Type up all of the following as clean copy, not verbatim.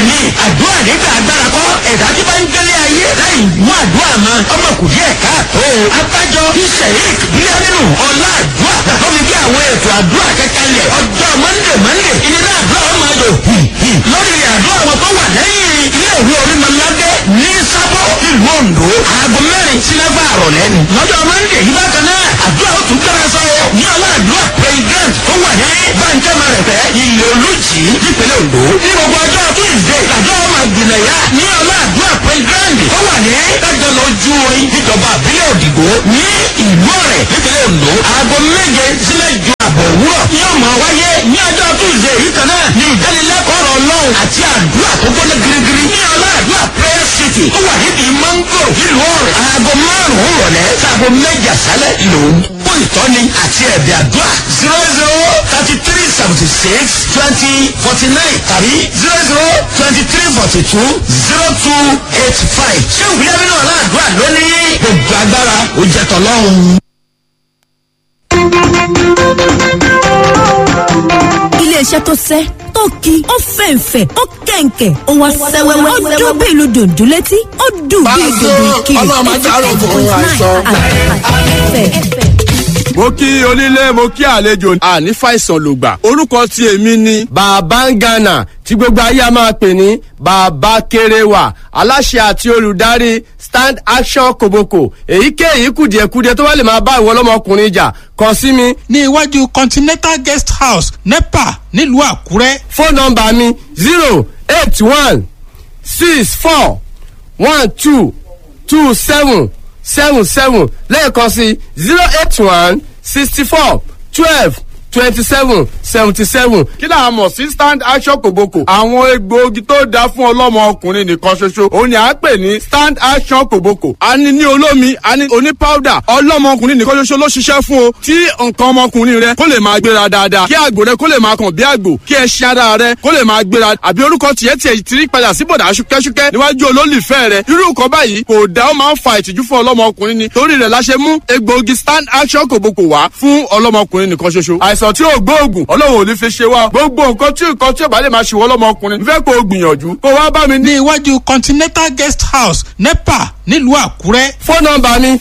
Bẹ́ẹ̀ ni, àdúrà nígbà agbára kọ́. Ẹ̀dá tí bá ń gbélé ayé láì mú àdúrà mọ́, ọmọ kù díẹ̀ káàtó. Abájọ tí Sheik Bíyánínú ọlá àdúrà tó fi gbé àwọn ètò àdúrà kẹkẹlẹ̀ ọjọ́ Monday Monday, ìnira àdúrà ọmọ ayò lórí àdúrà wọn tó wà lẹ́yìn ilé ìwé Orímọládé ní Sábó, ìlú Oǹdó, aago 4 sí 6 àrọ̀lẹ́ ni. Lọ́jọ́ Monday yìí bákan náà, àdúrà ó tún gbára sọ́wọ́ ní ọlá àdúrà playground tó wà ní Bàǹjẹ́mà rẹ̀fẹ́, ilé Olùjì, nípínlẹ̀ Oǹdó. Ní gbogbo ọjọ́ Tuesday, àdúrà ó máa gbìnàyà ní ọlá àdúrà playground tó wà ní Dájọ́ lójú orin, níjọba àbílẹ̀ Òdìgbò, ní ìlú Ọ̀rẹ́, nípínlẹ̀ Oǹdó, aago 7 sí 8:30 òwúrọ̀ yóò máa wáyé. Ní ọjọ́ Tuesday yìí kan náà ní ìdánilẹ́kọ̀ọ́ ọ̀rọ̀ Ọlọ́run àti àdúrà tó gbóná girigiri ní ọlá àdúrà prayer city tó wà nídìí mango, nílùú Ọ̀rẹ́, aago 5 ìrọ̀lẹ́ sáago 7 àṣálẹ́ lòún. Fún ìtọ́ni àti ẹ̀bẹ̀ àdúrà, 0033762049 tàbí 0023420285. Ṣé òbílẹ̀ nínú ọ̀la àdúrà lónìí? Gbogbo agbára ó jẹ́ tọ́lọ́run. Iléeṣẹ́ tó sẹ́ tó ki, ó fẹ̀ǹfẹ̀, ó kẹ̀ǹkẹ̀, ó wá sẹ́wẹ́wẹ́, ó dún bí ìlú dòdò létí, ó dùn bí dòdò ìkirè. Ọlọ́run máa járò fún àìsàn. Mo kí onílé, mo kí àlejò, àní fàìsàn lògbà. Orúkọ tí èmi ni Bàbá ń Gànà, tí gbogbo ayé a máa pè ní Bàbá Kéréwà, aláṣẹ àti olùdarí Stand Action Koboko. Èyíkéyìí kùdìẹ̀kudiẹ tó bá lè máa bá ìwọ ọlọ́mọkùnrin jà, kàn sí mi. Ní iwájú Continental Guest House, NEPA, nílùú Àkúrẹ́. Fóònù nọ́mbà mi, 08164122777. Lẹ́ẹ̀kan sí, 08164122777. Kí là á mọ̀ sí Stand Action Koboko? Àwọn egbòogi tó dáa fún ọlọ́mọ ọkùnrin nìkan ṣoṣo òun ni à ń pè ní Stand Action Koboko. A ní ní olómi, a ní oní powder. Ọlọ́mọ ọkùnrin nìkan ṣoṣo ló ṣiṣẹ́ fún o, tí nǹkan ọmọkùnrin rẹ kó lè máa gbéra dáadáa, kí àgbò rẹ kó lè máa kàn bí àgbò, kí ẹṣin ara rẹ kó lè máa gbéra, àbí orúkọ tiẹ̀ tiẹ̀ ti rí padà sí bọ̀dà ṣúkẹ́ṣúkẹ́ níwájú olólùfẹ́ rẹ. Irú nǹkan báyìí kò dá, ó máa ń fa ìtìjú fún ọlọ́mọkùnrin ni. Torí rẹ̀ la ṣe mú egbòogi Stand Action Koboko wá fún ọlọ́mọkùnrin nìkan ṣoṣo. Àìsàn tí ò gbóògùn, Ọlọ́run ò ní fi ṣe wá. Gbogbo nǹkan tí nǹkan tí ò bá lè máa ṣe wọ́n lọ́mọkùnrin, n fẹ́ kó o gbìyànjú kó wá bá mi ní. Ní iwájú Continental Guest House, NEPA, nílùú Àkúrẹ́. Fóònù nọ́mbà mi,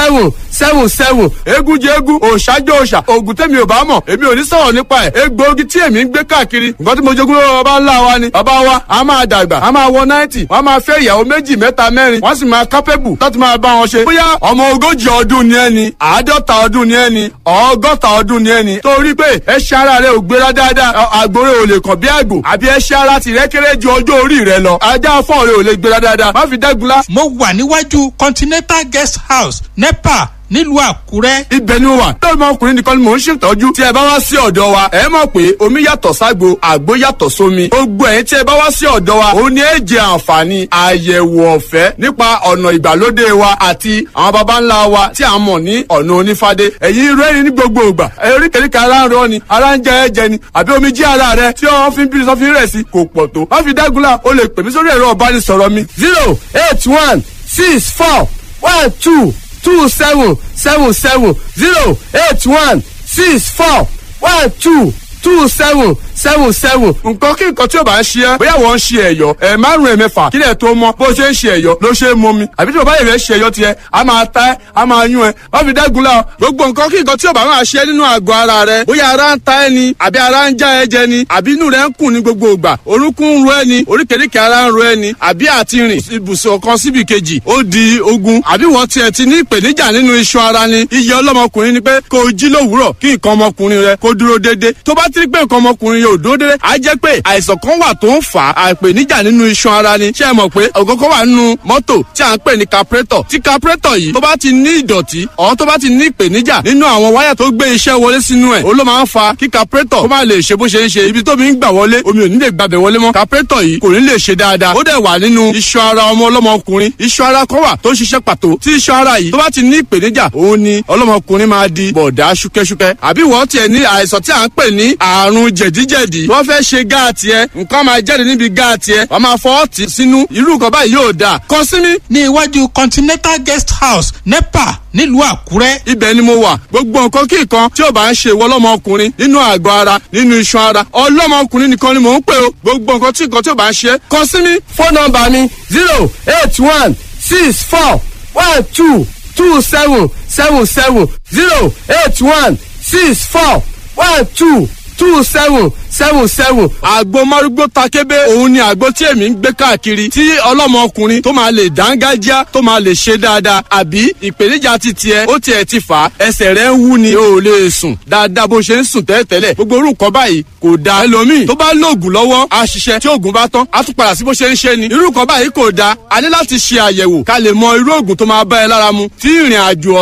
08164122777. Eégún jẹ eégún, òòṣà jẹ òòṣà. Oògùn tèmi ò bá mọ̀, èmi ò ní sọ̀rọ̀ nípa ẹ̀. Egbòogi tí èmi ń gbé káàkiri, nǹkan tí mo jogún lọ́wọ́ bàbá ńlá wa ni. Bàbá wa a máa dàgbà, a máa wọ 90, wọ́n máa fẹ́ ìyàwó méjì, mẹ́ta, mẹ́rin, wọ́n sì máa kápẹ́bù láti máa bá wọn ṣe. Bóyá ọmọ 40 ọdún ni ẹni, 50 ọdún ni ẹni, 60 ọdún ni ẹni, torí pé ẹṣin ara rẹ ò gbéra dáadáa, àgbòrè ò lè kàn bí àgbò, àbí ẹṣin ara tìrẹ kéré ju ọjọ́ orí rẹ lọ, ajá fọ́ọ̀ rẹ ò lè gbéra dáadáa, má fi dẹ́gunlá. Mo wà níwájú Continental Guest House, NEPA, nílùú Àkúrẹ́. Ibẹ̀ ni mo wà. Lọ́mọ ọkùnrin nìkan ni mò ń ṣètọ́jú. Tí ẹ bá wá sí ọ̀dọ̀ wa, ẹ mọ̀ pé omi yàtọ̀ ságbo, àgbo yàtọ̀ sómi. Gbogbo ẹ̀yin tí ẹ bá wá sí ọ̀dọ̀ wa, òun ni ẹ jẹ àǹfààní àyẹ̀wò ọ̀fẹ́ nípa ọ̀nà ìgbàlódé wa àti àwọn baba ńlá wa tí a mọ̀ ní ọ̀nà onífádé. Ẹ̀yin rẹ́rìn ní gbogbo ìgbà. Oríkèéríkèé ara ń rọ ni, ara ń jẹ ẹ̀jẹ̀ ni, àbí omi jí ara rẹ tí wọ́n fi ń bí sọ́fin rẹ̀ sí kò pọ̀ tó. Má fi dágunlá, o lè pè mí sórí ẹ̀rọ ìbánisọ̀rọ̀ mi. 08164122777, 08164122777. Nǹkan kí nǹkan tí o bá ń ṣe ẹ́, bóyá wọ́n ń ṣe ẹ̀yọ́ ẹ̀ márùn-ún, ẹ̀mẹ́fà, kílẹ̀ tó mọ́, bó ṣe ń ṣe ẹ̀yọ́ ló ṣe é mọ́ mi, àbí tí o bá yẹ̀ fẹ́ ṣe ẹ̀yọ́ tiẹ̀, a máa ta ẹ́, a máa yún ẹ́. Má fi dẹ́gun la. Gbogbo nǹkan kí nǹkan tí o bá máa ṣe nínú àgọ́ ara rẹ, bóyá ara ń ta ẹ́ ni, àbí ara ń já ẹ jẹ ni, àbí inú rẹ ń kùn ní gbogbo ìgbà, orúnkún ń ro ẹ́ ni, oríkèéríkèé ara ń ro ẹ́ ni, àbí àti rìn ibùsùn kan síbi kejì ó di ogun, àbí wọ́n tiẹ̀ ti ní ìpèníjà nínú iṣan ara ni. Iye ọlọ́mọkùnrin ni pé kó o jí lówùúrọ̀, kí nǹkan ọmọkùnrin rẹ kó dúró déédéé. Tó bá ti rí pé nǹkan ọmọkùnrin yóò dúró déédéé, á jẹ́ pé àìsàn kan wà tó ń fà á, àìpèníjà nínú iṣan ara ni. Ṣé ẹ mọ̀ pé ògógó wà nínú mọ́tò tí à ń pè ní carburetor? Tí carburetor yìí tó bá ti ní ìdọ̀tí ọ̀, tó bá ti ní ìpèníjà nínú àwọn wáyà tó gbé iṣẹ́ wọlé sínú ẹ̀, ó ló máa ń fa kí carburetor kó má lè ṣe bó ṣe ń ṣe. Ibi tó mi ń gbà wọlé, omi ò ní lè gbàbẹ̀ wọlé mọ́, carburetor yìí kò ní lè ṣe dáadáa. Ó dẹ̀ wà nínú iṣan ara ọmọ ọlọ́mọkùnrin. Iṣan ara kan wà tó ń ṣiṣẹ́ pàtó. Tí iṣan ara yìí tó bá ti ní ìpèníjà, òun ni ọlọ́mọkùnrin máa di bọ̀dá ṣúkẹ́ṣúkẹ́. Àbí wọ́n tiẹ̀ ní àìsàn tí à ń pè ní Àrùn jẹ̀díjẹ̀dí. Wọ́n fẹ́ ṣe gáàtì ẹ, nǹkan máa jáde níbi gáàtì ẹ, wọ́n máa fọwọ́ tì sínú. Irú nǹkan báyìí yóò dáa. Kàn sí mi. Ní iwájú Continental Guest House, NEPA, nílùú Àkúrẹ́. Ibẹ̀ ni mo wà. Gbogbo nǹkan kí nǹkan tí ò bá ń ṣe ìwọ lọ́mọkùnrin nínú àgọ́ ara, nínú iṣan ara, ọlọ́mọkùnrin nìkan ni mò ń pè o. Gbogbo nǹkan tí nǹkan tí ò bá ń ṣe, kàn sí mi. Fóònù nọ́mbà mi 08164122777, 08164122777. Àgbo márúgbó takébé, òun ni àgbo tí èmi ń gbé káàkiri, tí ọlọ́mọkùnrin tó máa lè dángájá, tó máa lè ṣe dáadáa. Àbí ìpèníjà ti tiẹ̀, ó tiẹ̀ ti fà á, ẹsẹ̀ rẹ̀ ń wú ni, o ò lè sùn dáadáa bó ṣe ń sùn tẹ́lẹ̀tẹ́lẹ̀. Gbogbo orú nǹkan báyìí kò dáa. Ẹlòmíì tó bá lóògùn lọ́wọ́ á ṣiṣẹ́, tí oògùn bá tán á tún padà sí bó ṣe ń ṣe ni. Irú nǹkan báyìí kò dáa. A ní láti ṣe àyẹ̀wò ká lè mọ irú oògùn tó máa bá ẹ lára mu tí ìrìn àjò.